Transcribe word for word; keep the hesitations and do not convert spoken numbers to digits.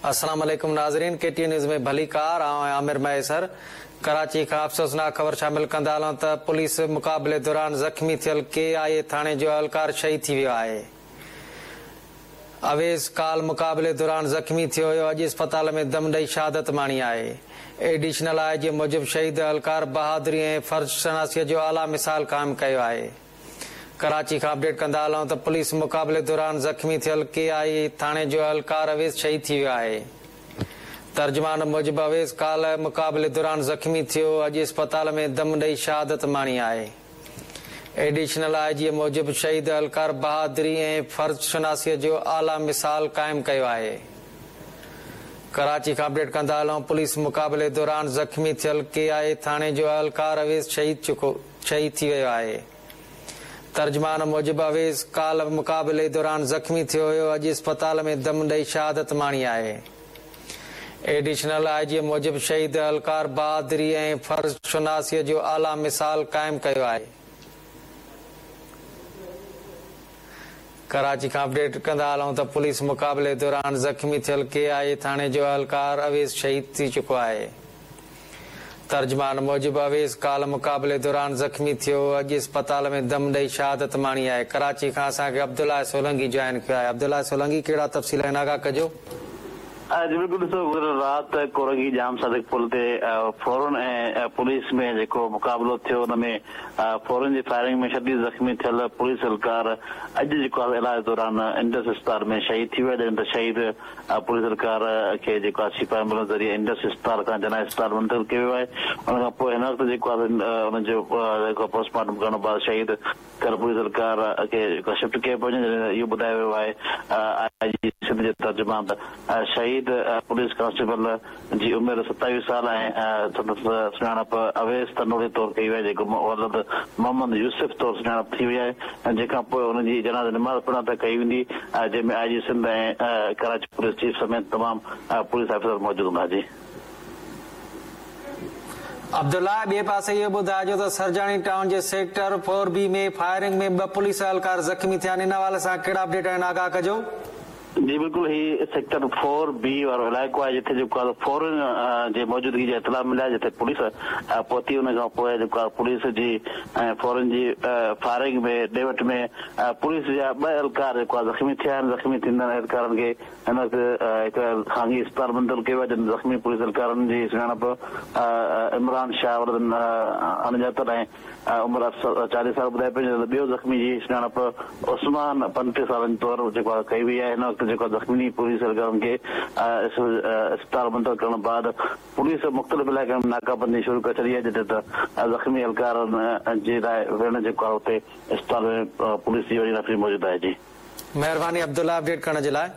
अस्सलाम वालेकुम नाज़रीन, के टी न्यूज़ में भलीकार। आउं आमिर महेसर। कराची खां अफ़सोसनाक ख़बर शामिल कंदा हलूं त पुलिस मुक़ाबले दौरान ज़ख़्मी थियल के आई ए थाणे जो अहलकार शहीद थी वियो आहे। अवेस काल मुक़ाबले दौरान ज़ख़्मी थियो हुयो, अॼु अस्पताल में दम ॾेई शहादत माणी आहे। एडिशनल I जी मूजिबि शहीद अहलकार बहादुरी ऐं फ़र्ज़ शनासीअ जो आला मिसाल क़ाइमु कयो आहे। कराची खां अपडेट कंदा हलूं त पुलिस मुक़ाबले दौरान ज़ख़्मी थियल के आई ए थाणे जो अहलकार अवेस शहीद थी वियो आहे। तर्जुमान मूजिबि अवेस काल मुक़ाबले दौरान ज़ख़्मी थियो, अॼु अस्पताल में दम ॾेई शहादत माणी आहे। एडिशनल I जी मूजिबि शहीद अहलकार बहादुरी ऐं फ़र्ज़ शनासीअ जो आला मिसाल क़ाइमु कयो आहे। कराची खां अपडेट कंदा हलूं, पुलिस मुक़ाबले दौरान ज़ख़्मी थियल के आई ए थाणे जो अहलकार अवेस शहीद चुको शहीद थी वियो आहे। तर्जुमान मूजिबि अवेस काल मुक़ाबले दौरान ज़ख़्मी थियो हुयो, अॼु अस्पताल में दम ॾेई शहादत माणी आहे। एडिशनल I जी मूजिबि शहीद अहलकार बहादुरी ऐं फ़र्ज़ शनासीअ जो आला मिसाल क़ाइमु कयो आहे। कराची खां अपडेट कंदा हलूं त पुलिस मुक़ाबले दौरान ज़ख़्मी थियल के आई ए थाणे जो अहलकार अवेस शहीद थी चुको आहे। तर्जुमान मूजिबि अवेस काल मुक़ाबले दौरान ज़ख़्मी थियो, अॼु अस्पताल में दम ॾेई शहादत माणी आहे। कराची खां असांखे अब्दुल्ला सोलंगी जॉइन कयो आहे। अब्दुल्ला सोलंगी, कहिड़ा तफ़सील आहिनि, आगाह कजो। जी बिल्कुलु, ॾिसो गुज़िरियल राति कोरंगी जाम सादिक पुल ते फ़ौरन ऐं पुलिस में जेको मुक़ाबिलो थियो, उन में फ़ौरन जी फायरिंग में शदीद ज़ख़्मी थियल पुलिस अहलकार अॼु जेको आहे इलाज दौरान इंडस अस्पताल में शहीद थी वियो। जॾहिं त शहीद पुलिस अहलकार खे जेको आहे सिपाही एम्बुलेंस ज़रिए इंडस अस्पताल खां जना अस्पताल मुंतकिल कयो वियो आहे। उन खां पोइ हिन वक़्तु जेको आहे उनजो जेको पोस्टमार्टम करण बाद शहीद थियल पुलिस अहलकार खे जेको शिफ्ट कयो पियो वञे। जॾहिं इहो ॿुधायो वियो आहे आई जी सिंध जे तर्जुमान त शहीद पुलिस कांस्टेबल जी उमिरि सतावीह साल ऐं संदसि सुञाणप अवेस तनोड़ी तौर कई वई आहे, जेको वलद मोहम्मद यूसुफ तौर सुञाणप थी वई आहे। जंहिंखां पोइ हुनजी जनाज़ नमाज़ पढ़ण त कई वेंदी, जंहिंमें आई जी सिंध ऐं कराची पुलिस चीफ समेत तमामु पुलिस ऑफिसर मौजूदु हूंदा। जी अब्दुल्ला, ॿिए पासे इहो ॿुधाइजो त सरजानी टाउन जे सेक्टर फोर बी में फायरिंग में ॿ पुलिस अहलकार ज़ख़्मी थिया आहिनि। इन हवाले सां कहिड़ा अपडेट आहिनि, आगाह कजो। जी बिल्कुलु, ही सेक्टर फोर बी वारो इलाइक़ो आहे जिते जेको आहे फ़ौरन जे मौजूदगी जा इतला मिलिया, जिते पुलिस पहुती। उन खां पोइ जेको आहे पुलिस जी ऐं फ़ौरन जी फायरिंग में ॾे वठ में पुलिस जा ॿ अहलकार जेको आहे ज़ख़्मी थिया आहिनि। ज़ख़्मी थींदड़ अहलकारनि खे हिन वक़्तु हिकु ख़ानगी अस्पताल मुंतकिल कयो वियो आहे। जॾहिं ज़ख़्मी पुलिस अहलकारनि जी सुञाणप इमरान शाह वलद अणॼातल ऐं उमिरि चालीह साल ॿुधाई पई। ॿियो ज़ख़्मी जी सुञाणप उस्मान पंटीह सालनि तौर जेको आहे कई वई आहे। हिन वक़्तु जेको ज़ख़्मी पुलिस अहलकारनि खे अस्पताल मुंतकिल करण बाद पुलिस मुख़्तलिफ़ इलाइक़नि में नाकाबंदी शुरू करे छॾी आहे, जिते त ज़ख़्मी अहलकारनि जे लाइ विहिण जेको आहे उते अस्पताल में पुलिस जी वॾी नफ़री मौजूदु आहे। जी महिरबानी अब्दुल्ला, अपडेट करण जे लाइ।